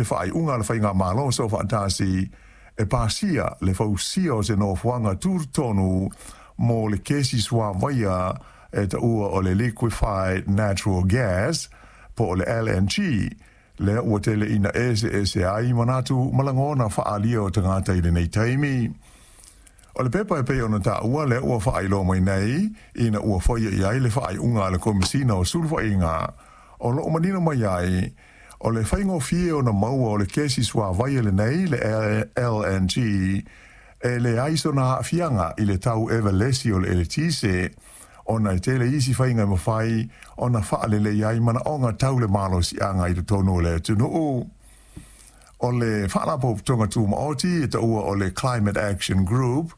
Le faaiuga a le Faigamalo Soofaatasi e pasia le fausia o se nofoaga tutotonu mo le kesi suāvaia e taua o le Liquefied Natural Gas po o le LNG, lea ua tele ina eseese ai manatu ma lagona faaalia o tagata i lenei taimi. O le pepa e pei ona taua lea ua faailoa mai nei ina ua faia i ai le faaiuga a le Komesina o Sulufaiga, o lo o manino mai ai, o le faigofie ona maua o le kesi suāvaia lenei le LNG e leai sona aafiaga i le tau evalesi o le eletise, ona e tele isi faiga e mafai ona faalelei ai manaoga tau le malosiaga i totonu o le atunuu. O le Faalapotopotoga Tumaoti e taua o le Climate Action Group,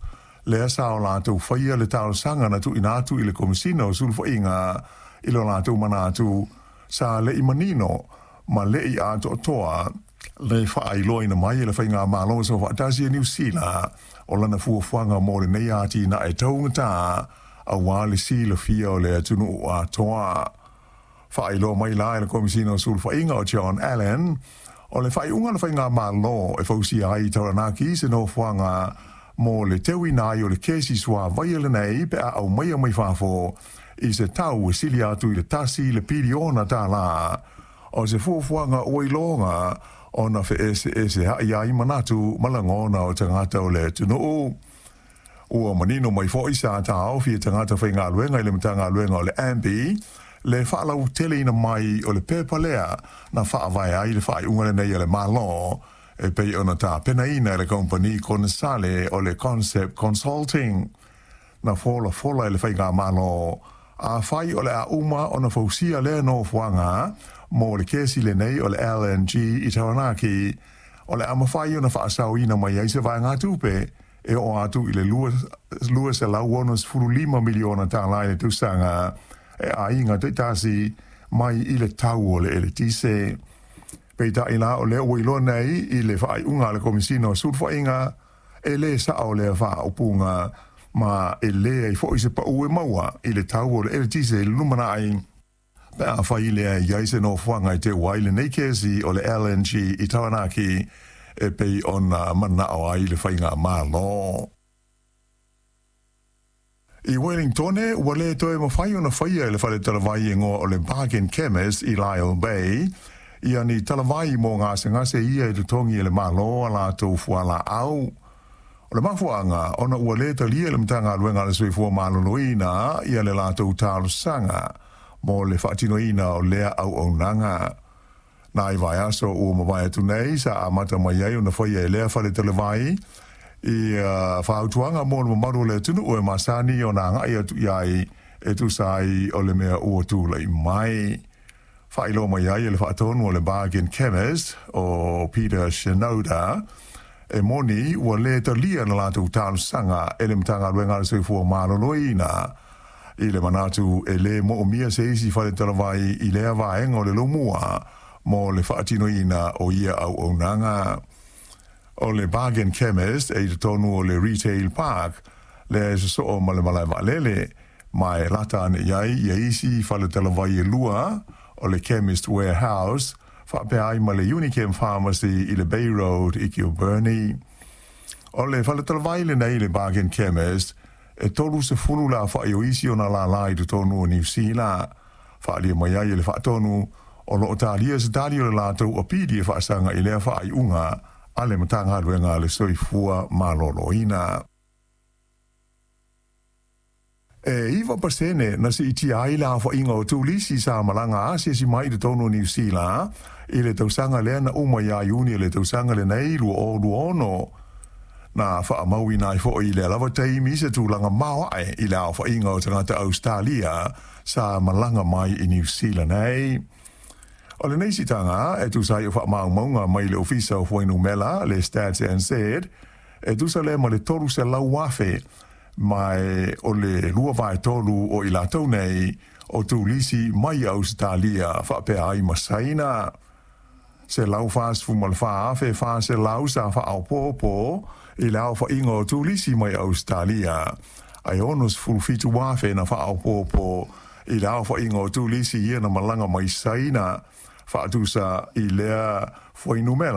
lea sa o latou faia le talosaga na tuuina atu i le Komesina o Sulufaiga i lo latou manatu sa le i manino ma le i atoatoa le faailoaina mai e le Faigamalo Soofaatasi a Niu Sila o lana fuafuaga mo lenei atinae taugata aua le silafia o le atunuu atoa. Faailoa mai la e le Komesina o Sulufaiga o John Allen, o le faaiuga a le Faigamalo e fausia ai i Taranaki se nofoaga mo le teuina ai o le kesi suāvaia lenei pe a aumaia mai fafo i se tau e sili atu i le $1 piliona. O se fuafuaga ua iloga ona feeseeseai ai manatu ma lagona o tagata o le atunuu. Ua manino mai foi sa taofi e tagata faigaluega i le Matagaluega o le MB le faalauteleina mai o le pepa lea na faavae ai le faaiuga lenei a le Malo e pei ona tapenaina e le kamupani konesale o le Concept Consulting. Na folafola e le Faigamalo, afai o le a uma ona fausia lea nofoaga mo le kesi lenei o le LNG i Taranaki, o le a mafai ona faasaoina mai ai se vaegatupe e oo atu i le $265 miliona i le tausaga e aiga taitasi mai i le tau o le eletise. Peitai la o lea ua iloa nei i le faaiuga a le Komesina o Sulufaiga e lē sao lea faaupuga ma e leai foi se pau e maua i le tau o le eletise i le lumanai pe afai lea i ai se nofoaga e teu ai lenei kesi o le LNG i Taranaki e pei ona manao ai le Faigamalo. I Wellington, ua le toe mafai ona faia e le fale talavai e igoa o le Bargain Chemist i Lyall Bay ia ni talavai mo gasegase ia e totogi e le Malo a latou fualaau. O le mafuaaga ona ua le talia le Matagaluega a le Soifua Maloloina ia le latou talosaga mo le faatinoina o lea auaunaga. Nai vaiaso ua mavae atu nei sa amata mai ai ona faia e lea fale talavai i fautuaga mo le mamalu o le atunuu e masani ona agai atu i ai e tusa ai o le mea ua tulai mai. Faailoa mai ai e le faatonu o le Bargain Chemist o Peter Shinoda, e moni ua le talia na latou talosaga e le Matagaluega a le Soifua Maloloina i le manatu e le moomia se isi fale talavai i lea vaega o le lomua mo le faatinoina o ia auaunaga. O le Bargain Chemist e i totonu o le Retail Park lea e sosoo ma le malae vaalele ma e lata ane i ai ia isi fale talavai e lua o le Chemist Warehouse faapea ai ma le Unichem Pharmacy i le Bay Road i Kilbirnie. O le fale talavai lenei le Bargain Chemist e 30 le aofai o isi ona lālā i totonu o Niu Sila. Faaalia mai ai e le faatonu o lo o talia se tali o le latou apili e faasaga i lea faaiuga a le Matagaluega a le Soifua Maloloina. E 9% na siitia ai le aofaiga o turisi sa malaga asiasi mai i totonu o Niu Sila i le tausaga lea na uma ia Iuni o le tausaga lenei 2026. Na faamauina ai foi i lea lava taimi se tulaga maoae i le aofaiga o tagata Ausetalia sa malaga mai i Niu Sila nei. O lenei siitaga e tusa ai o faamaumauga mai le Ofisa o Fuainumela le Stats NZ, e tusa lea ma le 300,000 ma o le 2/3 o i latou nei o turisi mai Ausetalia faapea ai ma Saina. 144,400 sa faaopoopo i le aofaiga o turisi mai Ausetalia, ae 67,000 na faaopoopo i le aofaiga o turisi ia na malaga mai Saina faatusa i lea fuainumera.